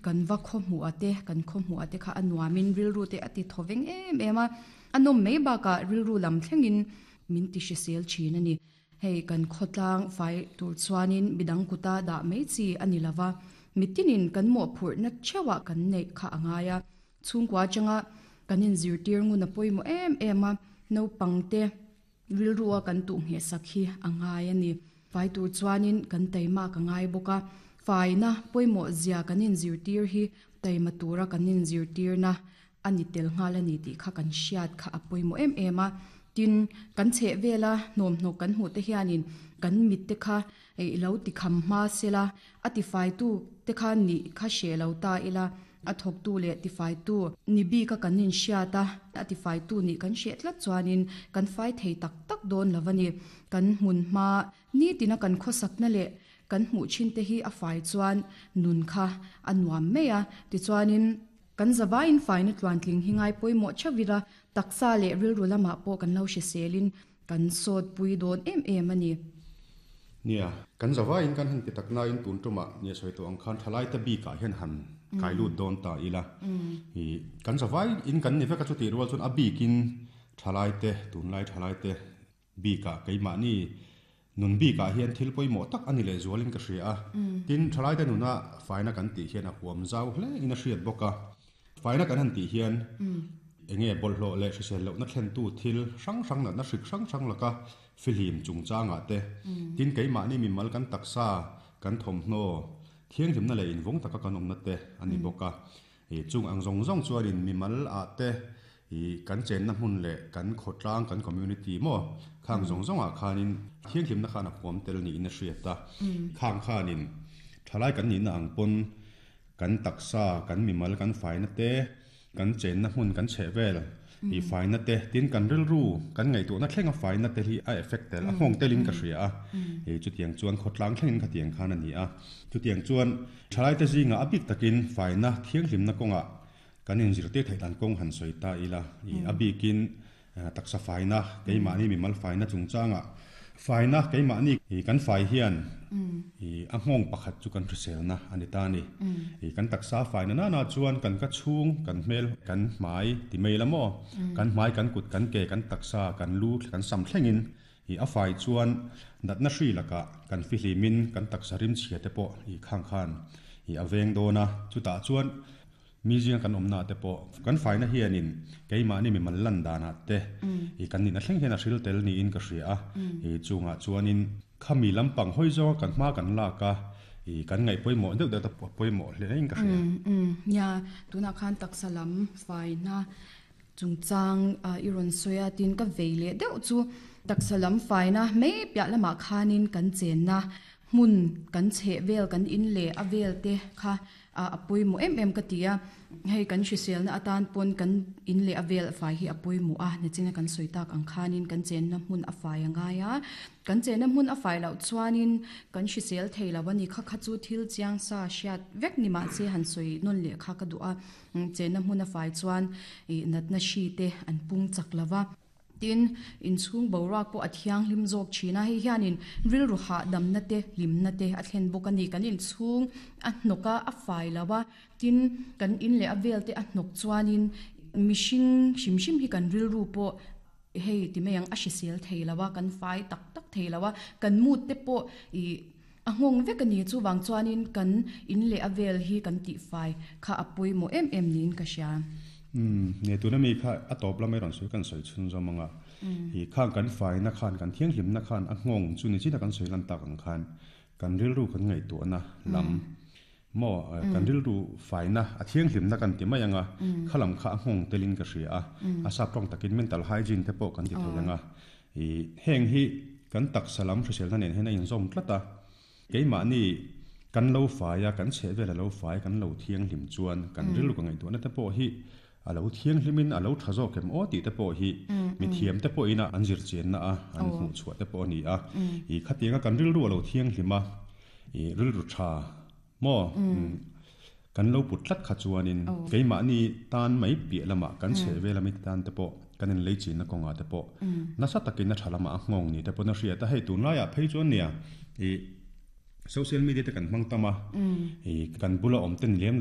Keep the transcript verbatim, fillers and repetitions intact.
Kan va khaw hmuh a te kan khaw hmuh a te kha a nuamin rilru te a ti thaw veng em em a. A nawm mai bakah rilru lam thlengin min ti hrisel thin a ni. Hei kan khawtlang fai tur chuanin midang kuta dah mai chi a ni lova. Mitinin kan mawhphurhna theuhah kan neih kha a ngai a. Chhungkua atanga kan inzirtir ngun a pawimawh em em a. Naupang te rilru a kan tuh ngheh sak hi a ngai a ni. Fai tur chuanin kan taima ka ngai bawk a. Faina pawimawh zia kan inzirtir hi taima tura kan inzirtirna a ni tel nghal a ni tih kha kan hriat kha a pawimawh em em a. Tin, kan chheh vela hnawmhnawk kan hmuh te hianin kan mit te kha i lo ti kham hma sela, a tifaitu te kha nih kha hreh lo ta ila, a thawktu leh tifaitu ni bika kan inhriat a, a tifaitu nih kan hreh tlat chuanin kan fai thei tak tak dawn lo a ni. Kan hmun hma nitina kan khawsakna leh kan hmuh thin te hi a fai chuan nun kha a nuam mai a. Tichuanin kan zavaiin faina tluantling hi ngai pawimawh theuh ila, taksa leh rilru lamah pawh kan lo hriselin kan sawt pui dawn em em a ni. Nia, kan zavaiin kan han ti tak nain tun tumah nia sawi tawh ang khan thalai te bikah hian han kai lut dawn ta ila. I kan zavaiin kan ni vek a, chutih rual chuan a bikin thalai te, tunlai thalai te bikah keimahni nun bikah hian thil pawimawh tak a ni leh zualin ka hria a. Tin, thalai te nuna faina kan tih hian a huam zau hle in a hriat bawk a. Faina kan han tih hian enge bawlhhlawh leh hrisel lohna thlentu thil hrang hrang natna hrik hrang hrang laka fihlim chungchangah te, tin keimahni mimal kan taksa kan thawmhnaw thianghlimna leh invawng taka kan awmna te a ni bawk a. Chung ang zawng zawng chuanin mimal ah te i kan chenna hmun leh kan khawtlang kan community maw khang zawng zawngah khanin thianghlimna khan a huam tel niin a hriat a. Khang khanin thalai kan nihna ang pawn kan taksa kan mimal kan faina te, kan chenna hmun kan chheh vel i faina te, tin kan rilru kan ngaihtuahna thlenga faina te hi a effect tel a nghawng telin ka hria a. E chutiang chuan khawtlang thlengin khatiang khan a ni a. Chutiang chuan thalai te zinga a bik takin faina thianghlimna kawngah kan inzirtir theih dan kawng han sawi ta ila. I a bikin taksa faina keimahni mimal faina chungchangah faina keimahni i kan fai hian i a nghawng pakhat chu kan hriselna a ni ta ni. I kan taksa faina na na chuan kan ka chhung kan hmel kan hmai ti mai la maw kan hmai kan kut kan ke kan taksa kan lu kan sam thlengin i a fai chuan natna hri lakah kan fihlimin kan taksa rim chhia te pawh i khang khan i a veng dawn a. Chutah chuan mi zinga kan awmna te pawh kan faina hianin keimahni mimal lan danah te i kan nihna thleng hian a hril tel niin ka hria a. I chungah chuanin khami lampang hawi zawnga kan hma kan lak a, i kan ngaih pawimawh deuh deuh te pawimawh hle in ka hria. Nia, tunah khan taksa lam faina chungchang i rawn sawi a, tin ka vei leh deuh chu taksa lam faina mai piah lamah khanin kan chenna hmun kan chheh vel kan in leh a vel te kha a pawimawh em em ka ti a. Hei kan hriselna atan pawn kan in leh a vel fai hi a pawimawh a, nichina kan sawi tak ang khanin kan chenna hmun a fai a ngai a. Kan chenna hmun a fai loh chuanin kan hrisel thei lo a ni. Kha kha chu thil chiang sa hriat vek ni mah se han sawi nawn leh kha ka duh a. Chenna hmun a fai chuan i natna hri te an pung chak lova. Tin, inchhung boruak pawh a thianghlim zawk thin a. Hei hianin rilru hahdamna te hlimna te a thlen bawk a ni. Kan inchhung a hnawk a, a fai lo a, tin kan in leh a vel te a hnawk chuanin mihring hrim hrim hi kan rilru pawh hei ti mai ang a hrisel thei lo a, kan fai tak tak thei lo a, kan mood te pawh i a nghawng vek a ni. Chuvang chuanin kan in leh a vel hi kan tih fai kha a pawimawh em em niin ka hria. Um ne tuna mi kha a tawp lamai rawn sawi kan sawi chhun zawm anga. I khang kan faina khan kan thianghlimna khan a nghawng chu ni china kan sawi lan tak ang khan kan rilru kan ngaihtuahna lam maw kan rilru faina a thianghlimna kan ti mai anga khalam kha a nghawng telin ka hria a. A sap tawng takin mental hygiene te pawh kan ti thei anga. I heng hi kan taksa lam hriselna nen hian a inzawm tlat a. Keimahni kan lo faia kan chheh vel a lo fai kan lo thianghlim chuan kan rilru ka ngaihtuahna te pawh hi a lo thianghlimin a lo tha zawk em aw tih te pawh hi mi thiam te pawh ina an zir chianna a, an hmuh chhuah te pawh a ni a. I khatianga kan rilru a lo thianghlima i rilru tha maw kan lo put tlat kha chuanin keimahni tan mai piah lamah kan chheh vel ami tan te pawh kan in lei chinna kawngah te pawh nasa takin a tha lamah a nghawng ni te pawn a hriat a. Hei tunlaiah phei chuan nia i social media te kan hmang tam a, i kan bula awm ten lem lo